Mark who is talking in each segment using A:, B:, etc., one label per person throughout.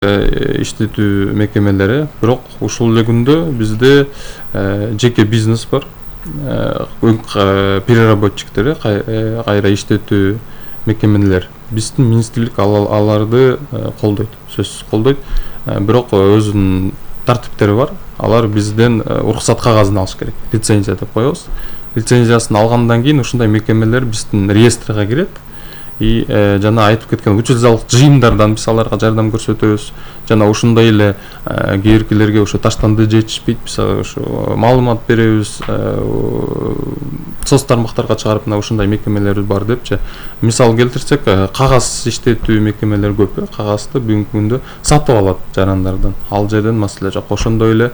A: иштетүү мекемелери, бирок ушул эле күндө бизде жеке бизнес бар. Переработчиктери, кайра иштетүү мекемелер. Биздин министрлик аларды колдойт, сөзсүз колдойт. Бирок өзүнүн тартиптери бар. Алар бизден уруксат кагазын алыш керек. Лицензия деп коебуз. Лицензиясын алгандан кийин ушундай мекемелер биздин реестрге кирет. И жана айтып кеткен учреждалык жыйындардан биз аларга жардам көрсөтөбүз. Жана ушундай эле кээбиркилерге ошо таштанды жетишпейт, биз ошо маалымат беребиз. Соц тармактарга чыгарып мына ушундай мекемелер бар депчи. Мисал келтирсек, кагаз иштетүү мекемелер көп. Кагазды бүгүнкү күндө сатып алат жарандардан. Ал жерден маселе жок. Ошондой эле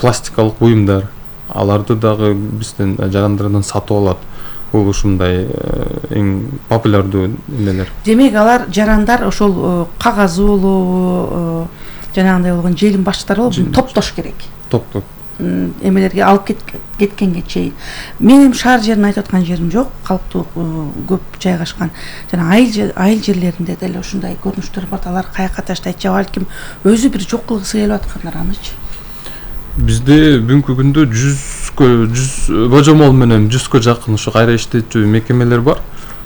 A: пластикалык буюмдар, аларды дагы бизден жарандардан сатып алат. Бул ушундай эң популярдуу эмелер.
B: Демек алар жарандар ошол кагазы болобу, жанагындай болгон желим башчылары болобу, топтош керек.
A: Топтоп
B: Эмелерге алып кеткенге чейин. Мен эми шаар жерин айтып аткан жерим жок, калктуу көп жайгашкан. Жана айыл жерлеринде деле ушундай көрүнүштөр бар. Алар каяка таштайт же балким өзү бир жок кылгысы келип аткандар анычы.
A: Бизде бүгүнкү күндө 100 божомол менен 100 жакын ошо кайра иштетүү мекемелер бар.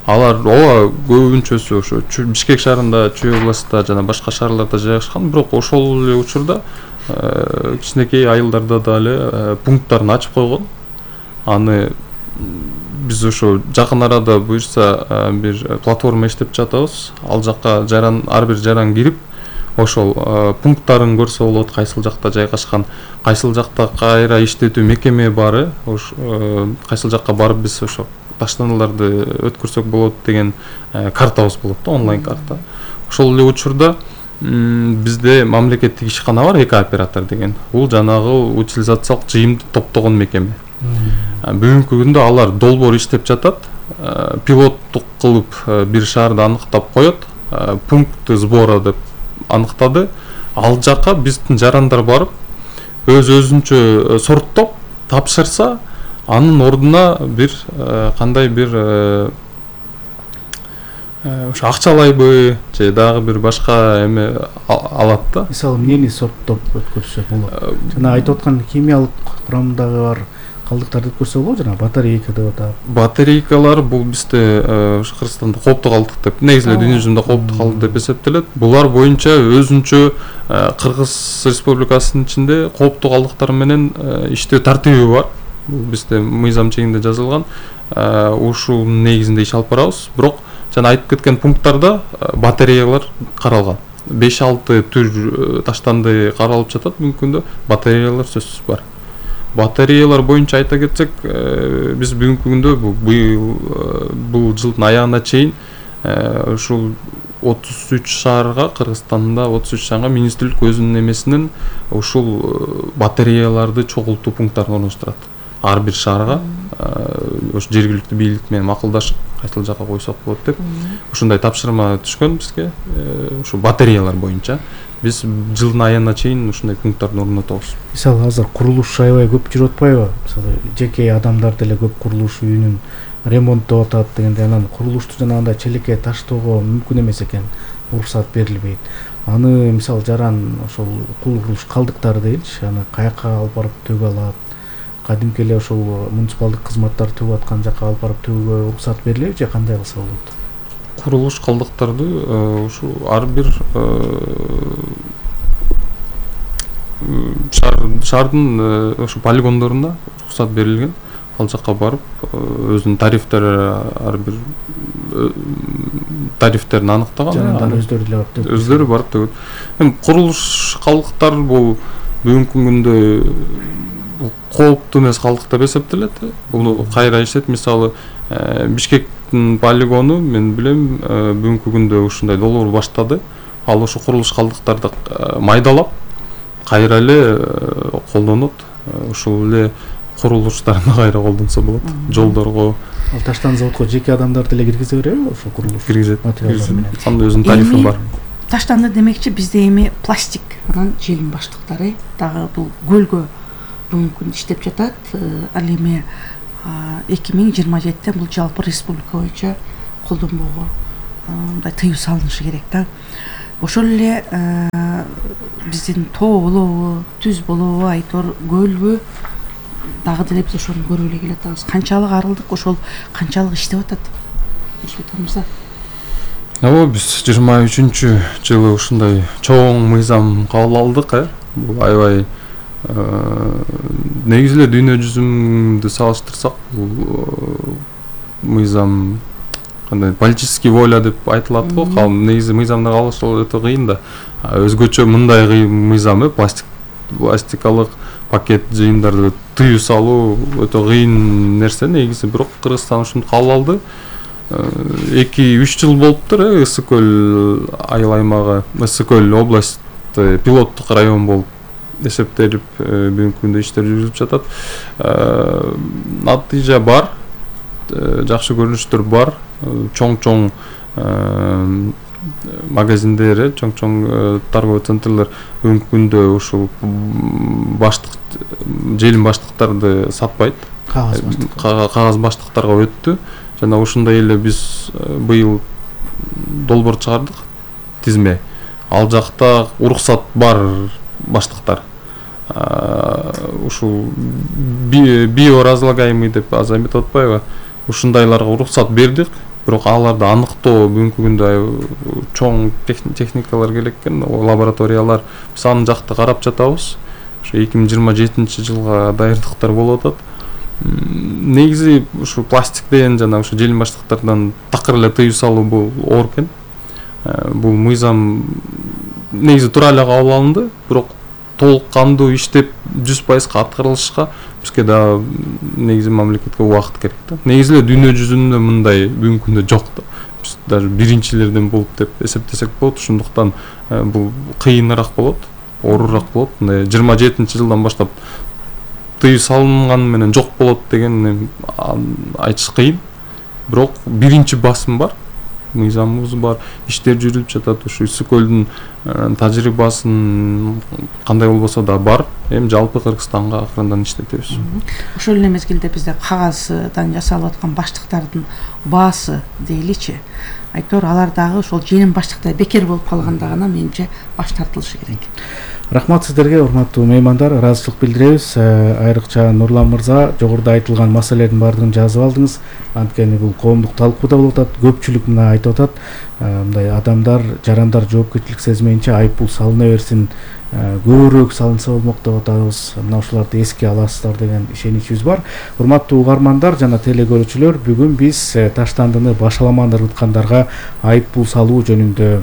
A: Алар көбүнчөсү ошо Бишкек шаарында, Чүй областында жана башка шаарларда жайгашкан, бирок ошол эле учурда кичинекей айылдарда дагы пункттарын ачып койгон. Аны биз ошо жакын арада буюрса бир платформа иштеп жатабыз. Ал жакка ар бир жаран кирип ошол пункттарын көрсө болот, кайсыл жакта жайгашкан, кайсыл жакта кайра иштетүү мекеме бары, кайсыл жакка барып биз ошо таштандыларды өткөрсөк болот деген картабыз болот да, онлайн карта. Ошол эле учурда бизде мамлекеттик ишкана бар, эки оператор деген. Бул жанагы утилизациялык жыйымды топтогон мекеме. Бүгүнкү күндө алар долбоор иштеп жатат. Пилоттук кылып бир шаарды аныктап коет, пункт сбора деп аныктады. Ал жакка биздин жарандар барып өзүнчө сорттоп тапшырса, анын ордуна бир кандай бир ошо акчалайбы же дагы бир башка эме алат да.
C: Мисалы эмнени сорттоп өткөрсө болот? Жана айтып аткан химиялык курамдагы бар калдыктарды өткөрсө болот, жана батарейка деп атат.
A: Батарейкалар бул бизде ошо Кыргызстанда кооптуу калдык деп, негизи эле дүйнө жүзүндө кооптуу калдык деп эсептелет. Булар боюнча өзүнчө Кыргыз Республикасынын ичинде кооптуу калдыктар менен иштөө тартиби бар. Бул бизде мыйзам чегинде жазылган. Ушул негизинде иш алып барабыз. Бирок жана айтып кеткен пункттарда батареялар каралган. 5-6 түр таштанды каралып жатат. Бүгүнкү күндө батареялар сөзсүз бар. Батареялар боюнча айта кетсек, биз бүгүнкү күндө бул жылдын аягына чейин ушул 33 шаарга, Кыргызстанда 33 шаарга министрлик өзүнүн эмесинен ушул батареяларды чогултуу пункттарын орноштурат. Ар бир шаарга ошо жергиликтүү бийлик менен макулдашып, кайсыл жакка койсок болот деп ушундай тапшырма түшкөн бизге. Ушу батареялар боюнча биз жылдын аягына чейин ушундай пункттарды орнотобуз.
C: Мисалы азыр курулуш аябай көп жүрүп атпайбы? Мисалы жеке адамдар деле көп курулуш үйүнүн ремонттоп атат дегенде, анан курулушту жанагындай челекке таштоого мүмкүн эмес экен, уруксат берилбейт. Аны мисалы жаран ошол курулуш калдыктары дейинчи, аны каяка алып барып төгө алат? Кадимки эле ошол муниципалдык кызматтар төгүп аткан жакка алып барып төгүүгө уруксат берилеби же кандай кылса болот?
A: Курулуш калдыктарды ушу ар бир шаардын ошо полигондоруна уруксат берилген. Ал жакка барып өзүнүн тарифтери, ар бир тарифтерин аныктаган.
C: Жанагындан өздөрү деле барып төгөт.
A: Өздөрү барып төгөт. Эми курулуш калдыктар бул бүгүнкү күндө кооптуу эмес калдык деп эсептелет. Буну кайра иштет, мисалы Бишкектин полигону мен билем бүгүнкү күндө ушундай долбоор баштады. Ал ошо курулуш калдыктарды майдалап кайра эле колдонот. Ушул эле курулуштарына кайра колдонсо болот. Жолдорго.
C: Ал таштан заводко жеке адамдар деле киргизе береби ошо курулуш?
A: Киргизет. Анда өзүнүн тарифи бар.
B: Таштанды демекчи бизде эми пластик, анан желим баштыктары дагы бул көлгө бүгүнкү күндө иштеп жатат. Ал эми 2027-те бул жалпы республика боюнча колдонбоого мындай тыюу салынышы керек да. ошол эле биздин тоо болобу, түз болобу, Айтор көлбү дагы деле биз ошону көрүп эле келатабыз. Канчалык арылдык, ошол канчалык иштеп атат Нурсултан мырза?
A: Ооба, биз 23-жылы ушундай чоң мыйзам кабыл алдык. Бул аябай негизи эле дүйнө жүзүндө салыштырсак, бул мыйзам кандай политический воля деп айтылат го. Негизи мыйзамды кабылдоо өтө кыйын да. Өзгөчө мындай мыйзам пластикалык пакет жыйымдарды тыюу салуу өтө кыйын нерсе негизи. Бирок Кыргызстан ушуну кабыл алды. 2-3 жыл болуптур. Ысык көл айыл аймагы, Ысык көл область пилоттук район болуп эсептелип бүгүнкү күндө иштер жүрүлүп жатат. Натыйжа бар, жакшы көрүнүштөр бар. Чоң магазиндер, чоң торговый центрлер бүгүнкү күндө ушул желим баштыктарды сатпайт. Кагаз баштыктарга өттү. Жана ушундай эле биз быйыл долбоор чыгардык, тизме. Ал жакта уруксат бар баштыктар. Ушул биоразлагаемый деп азыр эметип атпайбы? Ушундайларга уруксат бердик. Бирок аларды аныктоо бүгүнкү күндө чоң техникалар керек экен, лабораториялар. Биз аны жакта карап жатабыз. Ошо 2027-жылга даярдыктар болуп атат. Негизи ушу пластиктен жана ушу желим баштыктардан такыр эле тыюу салуу бул оор экен. Бул мыйзам негизи туура эле кабыл алынды, бирок толук кандуу иштеп 100% аткарылышка бизге да негизи мамлекетке убакыт керек да. Негизи эле дүйнө жүзүндө мындай бүгүнкү күндө жок да. Биз даже биринчилерден болуп деп эсептесек болот. Ошондуктан бул кыйыныраак болот, оорураак болот. 27-жылдан баштап тыюу салынганы менен жок болот деген айтыш кыйын. Бирок биринчи басым бар, мыйзамыбыз бар, иштер жүрүп жатат. Ушу Ысык көлдүн тажрыйбасын кандай болбосо да бар. Эми жалпы Кыргызстанга акырындан иштетебиз.
B: Ошол эле мезгилде бизде кагаздан жасалып аткан баштыктардын баасы дейличи. Айтор алар дагы ошол желим баштыктай бекер болуп калганда гана менимче баш тартылышы керек.
C: Рахмат сиздерге, урматтуу меймандар. Ыраазычылык билдиребиз. Айрыкча Нурлан мырза, жогоруда айтылган маселелердин баардыгын жазып алдыңыз. Анткени бул коомдук талкууда болуп атат. Көпчүлүк мына айтып атат. Мындай адамдар, жарандар жоопкерчилик сезмейинче айыппул салына берсин, көбүрөөк салынса болмок деп атабыз. Мына ушуларды эске аласыздар деген ишеничибиз бар. Урматтуу угармандар жана телегөрүүчүлөр, бүгүн биз таштандыны башаламан ыргыткандарга айыппул салуу жөнүндө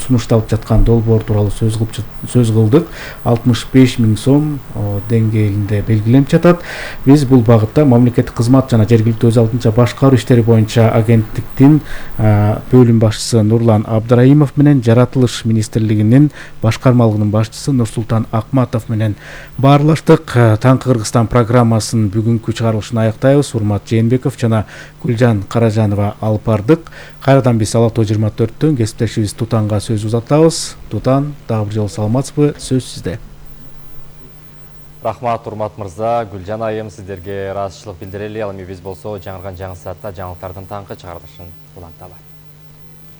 C: сунушталып жаткан долбоор тууралуу сөз кылдык. 65 000 сом деңгээлинде белгиленип жатат. Биз бул багытта мамлекеттик кызмат жана жергиликтүү өз алдынча башкаруу иштери боюнча агенттиктин бөлүм башчысы Нурлан Абдраимов менен Жаратылыш министрлигинин башкармалыгынын башчысы Нурсултан Акматов менен баарлаштык. Таңкы Кыргызстан программасын бүгүнкү чыгарылышын аяктайбыз. Урмат Жээнбеков жана Гүлжан Каражанова алып бардык. Кайрадан биз Ала Тоо 24-төн кесиптешибиз Тутанга сөз узатабыз. Тутан, дагы бир жолу саламатсызбы? Сөз сизде.
D: Рахмат, урмат мырза, Гүлжан айым, сиздерге ыраазычылык билдирели. Ал эми биз болсо жаңырган жаңы саатта жаңылыктардын таңкы чыгарылышын уланталы.